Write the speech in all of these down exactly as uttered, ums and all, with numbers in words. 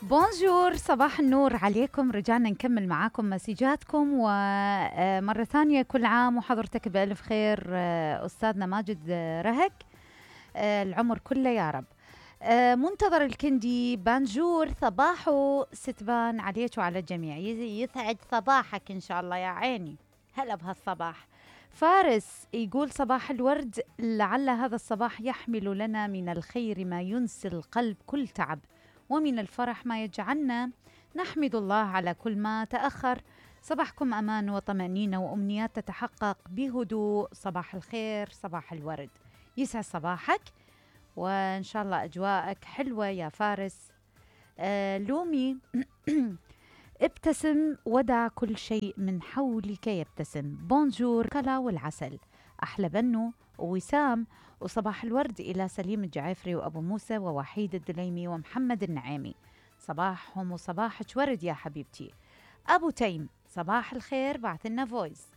بونجور، صباح النور عليكم. رجعنا نكمل معاكم مسيجاتكم، ومرة ثانية كل عام وحضرتك بألف خير أستاذنا ماجد رهك، العمر كله يا رب. منتظر الكندي بانجور، صباحو ستبان عليك وعلى الجميع، يسعد صباحك إن شاء الله يا عيني. هلا بهالصباح. فارس يقول صباح الورد، لعل هذا الصباح يحمل لنا من الخير ما ينسي القلب كل تعب، ومن الفرح ما يجعلنا نحمد الله على كل ما تأخر. صباحكم أمان وطمأنينة وأمنيات تتحقق بهدوء. صباح الخير، صباح الورد، يسعد صباحك وإن شاء الله أجواءك حلوة يا فارس. آه لومي ابتسم ودع كل شيء من حولك يبتسم. بونجور كلا والعسل، أحلى بنو ووسام، وصباح الورد إلى سليم الجعيفري وأبو موسى ووحيد الدليمي ومحمد النعيمي. صباحهم وصباحك ورد يا حبيبتي. أبو تيم صباح الخير، بعث لنا فويس.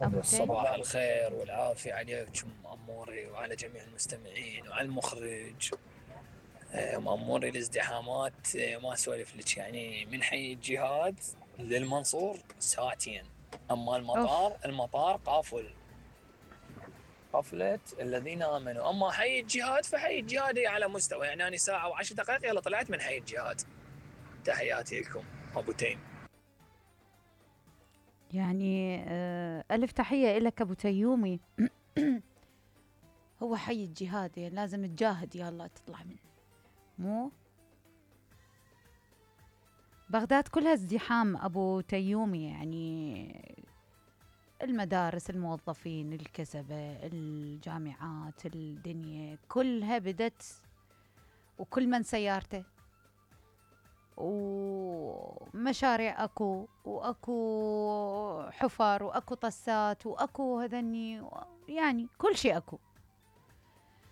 أبو صباح الخير والعافية عليكم أموري وعلى جميع المستمعين وعلى المخرج. مأموري الازدحامات ما أسولف لك، يعني من حي الجهاد للمنصور ساعتين، أما المطار أوف. المطار قافل قفلة الذين آمنوا، أما حي الجهاد فحي الجهاد على مستوى، يعني أنا ساعة وعشر دقائق يلا طلعت من حي الجهاد. تحياتي لكم أبو تيم. يعني ألف تحية لك أبو تيومي. هو حي الجهاد يعني لازم تجاهد يلا تطلع منه، مو بغداد كلها ازدحام أبو تيومي، يعني المدارس، الموظفين، الكسبة، الجامعات، الدنيا كلها بدت، وكل من سيارته، ومشاريع أكو وأكو حفر وأكو طسات وأكو هذني، يعني كل شيء أكو.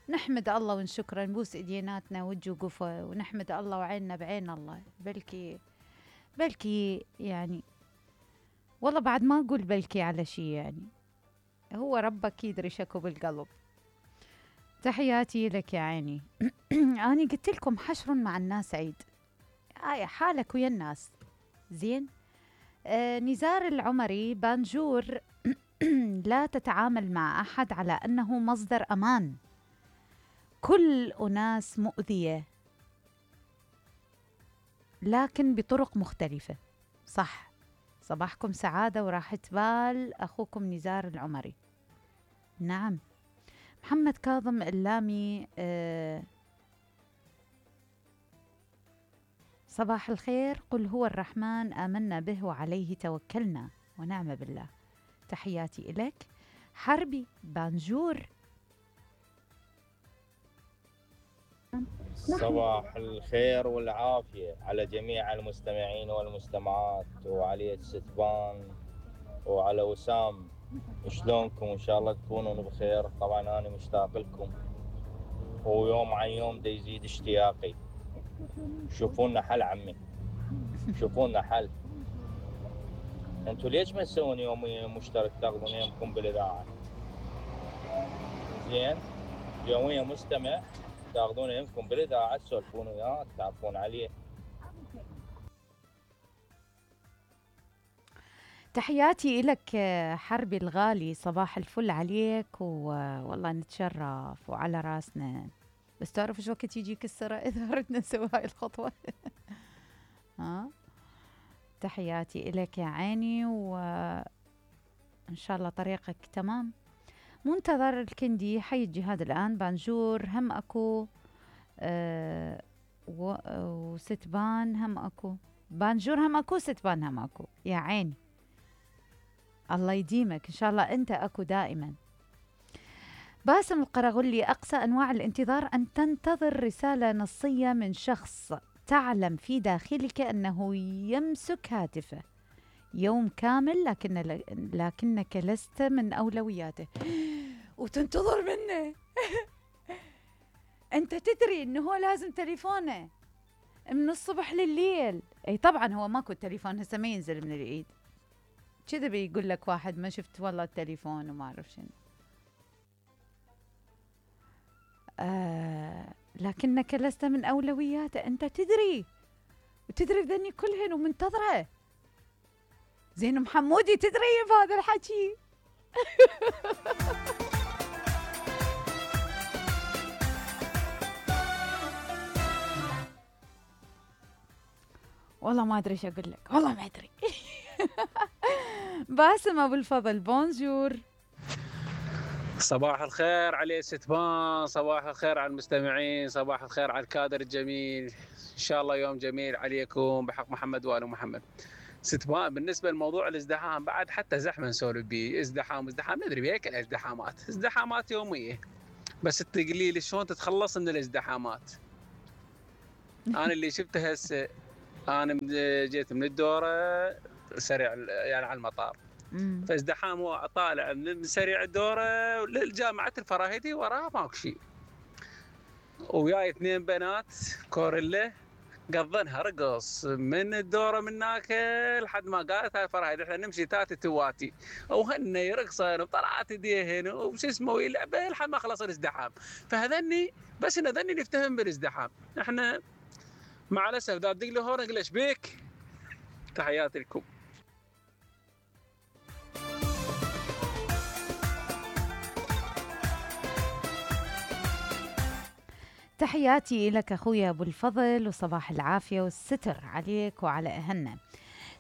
نحمد الله ونشكره، نبوس إيديناتنا وجوقفه ونحمد الله وعيننا بعين الله. بلكي بلكي يعني والله بعد ما أقول بلكي على شيء، يعني هو ربك يدري شكو بالقلب. تحياتي لك يا عيني. أنا قلت لكم حشر مع الناس عيد، آية حالك ويا الناس زين. آه نزار العمري بانجور. لا تتعامل مع أحد على أنه مصدر أمان، كل أناس مؤذية لكن بطرق مختلفة. صح. صباحكم سعادة وراحة بال، أخوكم نزار العمري. نعم. محمد كاظم اللامي آه صباح الخير، قل هو الرحمن آمنا به وعليه توكلنا ونعم بالله. تحياتي إليك. حربي بانجور. صباح الخير والعافية على جميع المستمعين والمستمعات، وعلى ستبان وعلى وسام. شلونكم؟ إن شاء الله تكونون بخير. طبعا أنا مشتاق لكم، ويوم عن يوم دا يزيد اشتياقي. شوفونا حل عمي، شوفونا حل. انتوا ليش ما تسوون يوميا مشترك تاخذون يومكم بالإذاعة؟ زين، يوميا مستمع تاخذون يومكم بالإذاعة، تسولفون وياه، تعرفون عليه. تحياتي لك حربي الغالي، صباح الفل عليك، والله نتشرف وعلى راسنا. بس تعرف شو وقت يجيك السرعة إذا أردنا نسوي هاي الخطوة. ها، تحياتي لك يا عيني، وإن شاء الله طريقك تمام. منتظر الكندي، حي الجهاد الآن. بانجور هم أكو، أه وستبان هم أكو. بانجور هم أكو، ستبان هم أكو يا عيني. الله يديمك إن شاء الله، أنت أكو دائما. باسم القرغلي، أقصى أنواع الانتظار أن تنتظر رسالة نصية من شخص تعلم في داخلك أنه يمسك هاتفه يوم كامل، لكن لكنك لست من أولوياته وتنتظر منه. أنت تدري أنه هو لازم تليفونه من الصبح لليل. أي طبعا هو ماكو تليفون هسه ما ينزل من الإيد كذا، بيقول لك واحد ما شفت والله التليفون وما أعرف شنو. آه لكنك لست من أولوياته. أنت تدري وتدري بذني كلهن ومنتظرة. زين محمودي تدري بهذا الحكي. والله ما أدري ايش أقول لك، والله ما أدري. باسم أبو الفضل بونجور. صباح الخير علي ستبان، صباح الخير على المستمعين، صباح الخير على الكادر الجميل. إن شاء الله يوم جميل عليكم بحق محمد وآل محمد. ستبان بالنسبة لموضوع الازدحام بعد حتى زحمة نسولف بيه، ازدحام ازدحام ندري بهيك الازدحامات، ازدحامات يومية. بس تقولي لي شلون تتخلص من الازدحامات؟ أنا اللي شفته هسه، أنا جيت من الدورة سريع يعني على المطار. فازدحام هو طالع من سريع الدورة لجامعة الفراهيدي وراه ماكو شيء. وياي اثنين بنات كوريلا قضنها رقص من الدورة من هناك لحد ما قالت هاي الفراهيدي احنا نمشي تاتي تواتي وهن يرقصن وطلعت ايديهن وش اسمه يلعبه لحد ما خلص الازدحام. فهذني بس ان ذني نفتهم بالازدحام. احنا مع الاسف دا تدق لي هون اقول ايش بيك؟ تحياتي لكم. تحياتي لك أخويا أبو الفضل، وصباح العافية والستر عليك وعلى أهلنا.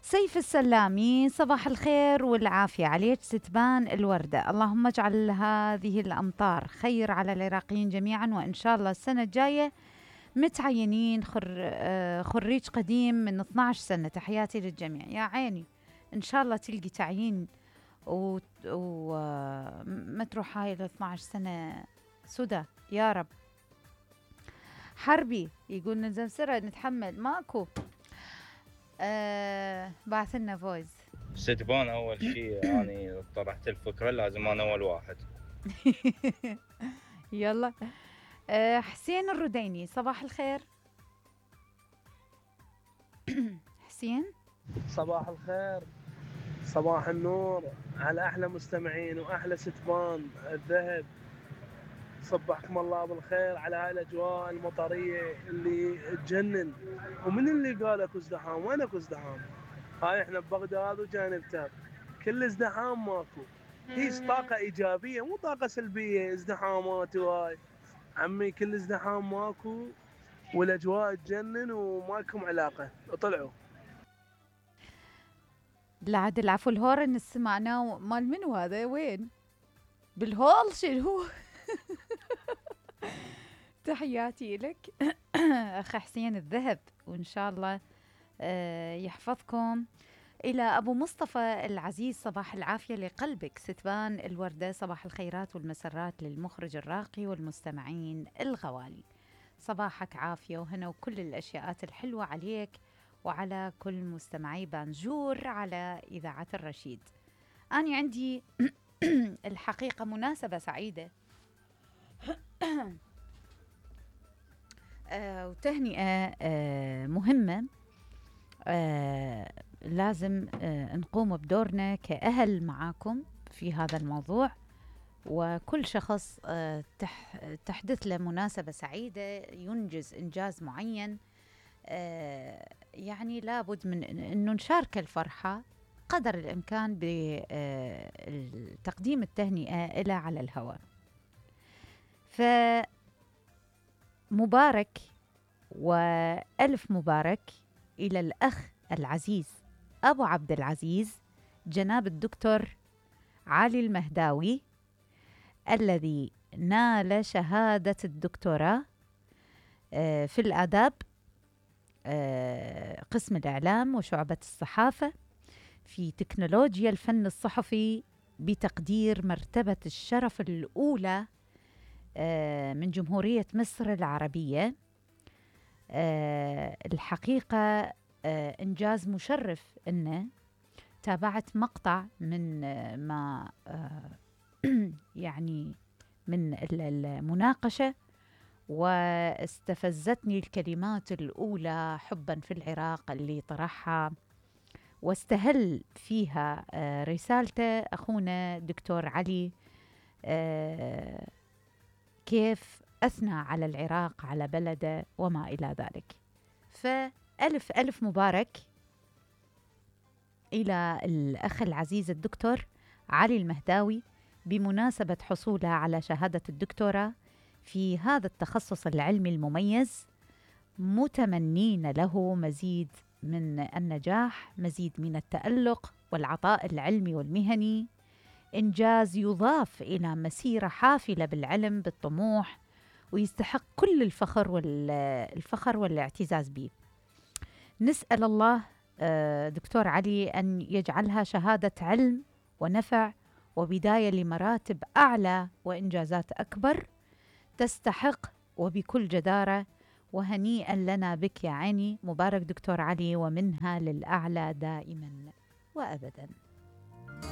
سيف السلامي، صباح الخير والعافية عليك ستبان الوردة. اللهم اجعل هذه الأمطار خير على العراقيين جميعا، وإن شاء الله السنة الجاية متعينين خر... خريج قديم من اثنعش سنة. تحياتي للجميع. يا عيني إن شاء الله تلقي تعيين وما و... ما تروح هاي ال اثنعش سنة سدى يا رب. حربي يقول نلزم سرعة نتحمل ماكو. آه بعث لنا فويس. ستبان أول شيء يعني طرحت الفكرة لازم أنا أول واحد. يلا. آه حسين الرديني، صباح الخير. حسين صباح الخير، صباح النور على أحلى مستمعين وأحلى ستبان الذهب. صبحكم الله بالخير على هاي الأجواء المطرية اللي تجنن. ومن اللي قال اكو ازدحام؟ وين اكو ازدحام؟ هاي احنا ببغداد وجانب تاب كل ازدحام ماكو. هي طاقة إيجابية مو طاقة سلبية. ازدحامات وهاي عمي كل ازدحام ماكو والأجواء تجنن وماكم علاقة. اطلعوا. لا عاد العفو الهورن سمعناه مال منو هذا؟ وين؟ بالهول شنو؟ تحياتي لك أخ حسين الذهب، وإن شاء الله يحفظكم. إلى أبو مصطفى العزيز، صباح العافية لقلبك ستبان الوردة. صباح الخيرات والمسرات للمخرج الراقي والمستمعين الغوالي. صباحك عافية وهنا وكل الأشياءات الحلوة عليك وعلى كل مستمعي بانجور على إذاعة الرشيد. أنا عندي الحقيقة مناسبة سعيدة آه وتهنئة آه مهمة. آه لازم آه نقوم بدورنا كأهل معاكم في هذا الموضوع، وكل شخص آه تح تحدث له مناسبة سعيدة ينجز إنجاز معين آه يعني لابد من أنه نشارك الفرحة قدر الإمكان بتقديم التهنئة إلى على الهواء. فمبارك وألف مبارك إلى الأخ العزيز أبو عبد العزيز جناب الدكتور علي المهداوي الذي نال شهادة الدكتوراه في الآداب قسم الإعلام وشعبة الصحافة في تكنولوجيا الفن الصحفي بتقدير مرتبة الشرف الأولى من جمهورية مصر العربية. الحقيقة إنجاز مشرف إنه تابعت مقطع من ما يعني من المناقشة واستفزتني الكلمات الأولى حبا في العراق اللي طرحها واستهل فيها رسالته أخونا دكتور علي كيف أثنى على العراق، على بلده وما إلى ذلك. فألف ألف مبارك إلى الأخ العزيز الدكتور علي المهداوي بمناسبة حصوله على شهادة الدكتوراه في هذا التخصص العلمي المميز، متمنين له مزيد من النجاح، مزيد من التألق والعطاء العلمي والمهني، إنجاز يضاف إلى مسيرة حافلة بالعلم بالطموح، ويستحق كل الفخر والفخر والاعتزاز به. نسأل الله دكتور علي أن يجعلها شهادة علم ونفع وبداية لمراتب أعلى وإنجازات أكبر، تستحق وبكل جدارة. وهنيئا لنا بك يا عيني، مبارك دكتور علي، ومنها للأعلى دائما وأبدا.